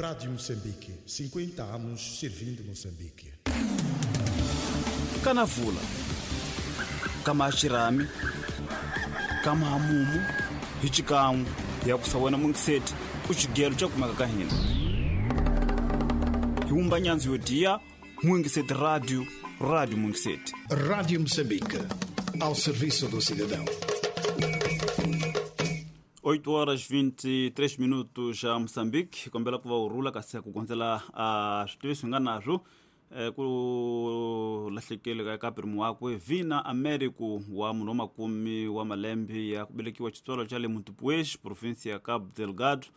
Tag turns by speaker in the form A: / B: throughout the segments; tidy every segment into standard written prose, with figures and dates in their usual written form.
A: Rádio Moçambique, 50 anos servindo Moçambique.
B: Kanavula kama xirhami kama hamumu hi xikan'we hi ya kusa wena mungiseti ku xigelo xa kumeka ka hina hi wumba nyandzu yo diya Mungiseti Radio, Rádio Mungiseti.
A: Rádio Moçambique, ao serviço do cidadão.
B: 8 horas 23 minutos a Moçambique. Kombela ku va u rhula kasi ku gondzela a switiviso hi nga nazwo ku lahlekele ka pirimu wakwe Vina Américo wa munhu wa makume wa malembe ya ku velekiwa xitswalo xa le Montepuez, provinsia ya Cabo Delgado.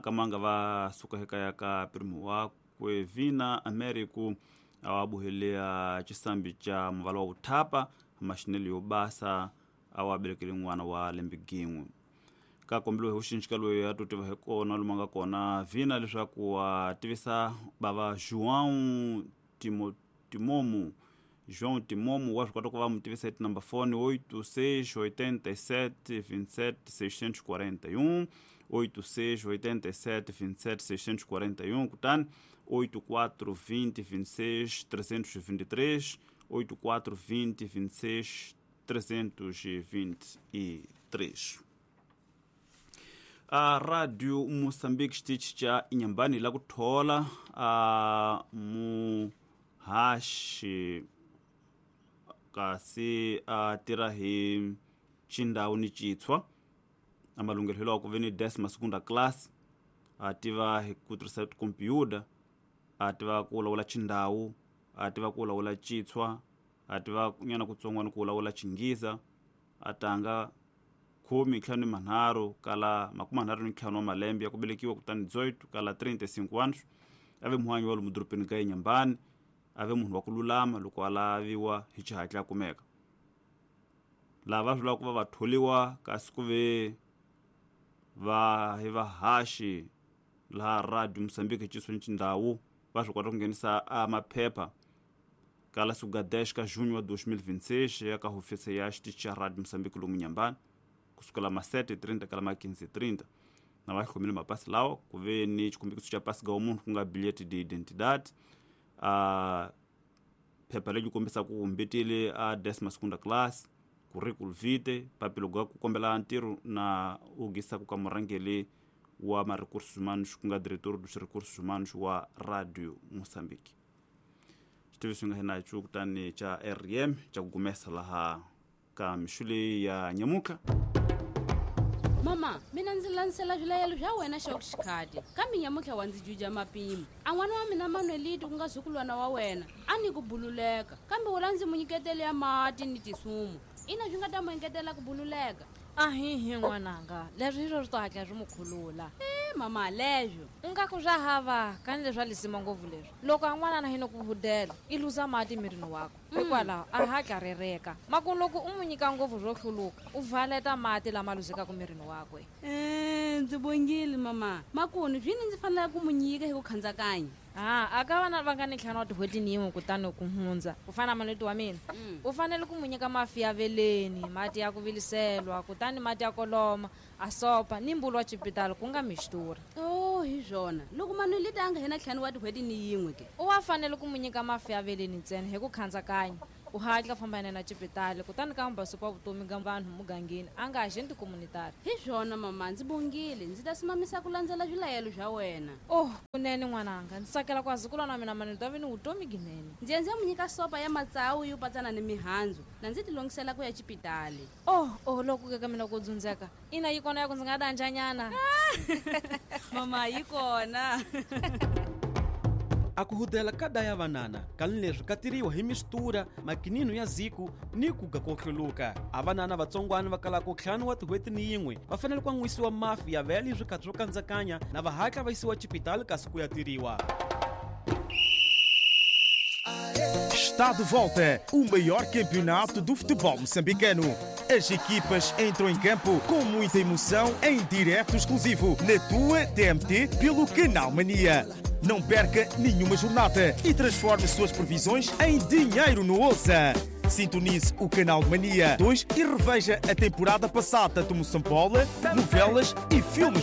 B: Kamanga va suka ekaya ka pirimu wakwe Vina Américo a wa buhelea xisambi xa muvala wa vuthapa maxinelo yo basa a wa velekele n'wana wa lembe gin'we. Ka kombeliwe hi vuxinxika loyi a to tiva hi kona lomu a nga kona Vina leswaku a tivisa bava João Timomo. João Timomo wa swi kota ku va mu tivisa hi tinumber phone 86 87 27 641, 86 87 27 641, kutani 84 20 26 323, 84 20 26 323. A Radio Moçambique xitichi xa Inhambane la ku thola a muhaxi kasi a tirha hi xindhawu ni citshwa a malunghelo wa ku ve ni décima segunda classe, a tiva hi ku tirhisa tikhompyuta, a tiva ku lawula xindhawu, a tiva ku lawula citshwa, a tiva nyana kutsongwana ku lawula xinghisa, a tanga 15 kala 35 wa malembe ya ku velekiwa kutani 18 kala 35 anos. A ve muhanyi wa lomu dorobeni ka Inhambane, a ve munhu wa ku lulama loko a laviwa hi xihatla a kumeka. Lava swi lava ku va va tholiwa kasi ku ve va hi vahaxi laha Radio Moçambique xisweni xindhawu va swi kota ku nghenisa a maphepha kala siku ga 10 ka junho wa 2026 ya ka hofisi ya xitichi xa Radio Moçambique lomu Inhambane kusukela ma 7:30 kala ma 15:30. Na va hlomile mapasi lawa ku ve ni xikombiso xa pasi ga munhu ku nga bilhete de identidade, a phepha leri kombisaka ku mbetile a décima segunda classe, curriculum vitae, papilo ga ku kombela ntirho na u gisaka ka murhangeri wa ma recursos humanos ku nga diretor dos recursos humanos wa Radio Moçambique. Xitiviso nga hina xo kutani xa RM xa ku gumesa laha ka mixo leyi ya nyamutlha.
C: Mama, mina ndzi landzela swilayelo swa wena xa xikhati kambe nyamutlha wa ndzi juja mapimo. A n'wana wa mina Manuelito ku nga zukulwana wa wena a ni ku bululeka kambe wula ndzi mu nyiketele ya mati ni tisumu ina swi nga ta mu engetela ku bululeka.
D: Ahihi n'wananga, leswi hi swo swi to hatla swi mu khulula.
C: Mama, leswo
D: u nga ku swa hava kani leswi a lisima ngopfu leswi loko a n'wanana hi no ku hudela i luza mati mirini wakwe, hikwalaho a hatla rereka. Maku loko u n'wi nyika ngopfu swo hluluka u valeta mati lama luzekaka mirini wakwe.
C: Ndzi bongile mama, makunu swini ndzi fanele ku mu nyika hi ku khandzakanya.
D: A ka vana va nga ni ntlhanu wa tin'hweti ni yin'we kutani ku hundza ku fana na Manuelito wa mina, u fanele ku mu nyika mafi ya veleni, mati ya ku viliselwa, kutani mati ya koloma, a sopa ni mbulu wa xipitali ku nga mixtura.
C: Oh, hi swona loko Manuelito a nga hena ntlhanu wa tin'hweti ni yin'we ke
D: u wa fanele ku mu nyika mafi ya veleni ntsena hi ku khandzakanya, u hatla famba yena na xipitali kutani ka mbasupa vutomi ga vanhu mugangeni a nga agenti communitary.
C: Hi swona mama, ndzi bongile, ndzi ta simamisa ku landzela swilayelo swa wena.
D: Oh, kunene n'wananga, ndzi tsakela ku azukulwana wa mina Manuelito a ve ni vutomi ginene.
C: Ndzi ya ndzi ya mu nyika sopa ya matsawu yo patsana ni mihandzu na ndzi tilongisela ku ya xipitali.
D: Oh, oh, loko ke ka mina ku dzundzeka ina yi kona ya ku ndzi nga danjanyana.
C: Mama, yi kona.
E: A ku hudela ka daya vanana kani leswi ka tiriwa hi mistura makinino ya ziku ni ku ga ko hluluka. A vanana vatsongwana va kalaka ntlhanu wa tin'hweti ni yin'we va fanele ku an'wisiwa mafi ya vele hi swikhathi swo kandzakanya na va hatla va yisiwa xipitali kasi ku ya tiriwa.
F: Está de volta o maior campeonato do futebol moçambicano. As equipas entram em campo com muita emoção em direto exclusivo na tua TMT pelo Canal Mania. Não perca nenhuma jornada e transforme suas previsões em dinheiro no Ouça. Sintonize o Canal Mania 2 e reveja a temporada passada do Moçambola, novelas e filmes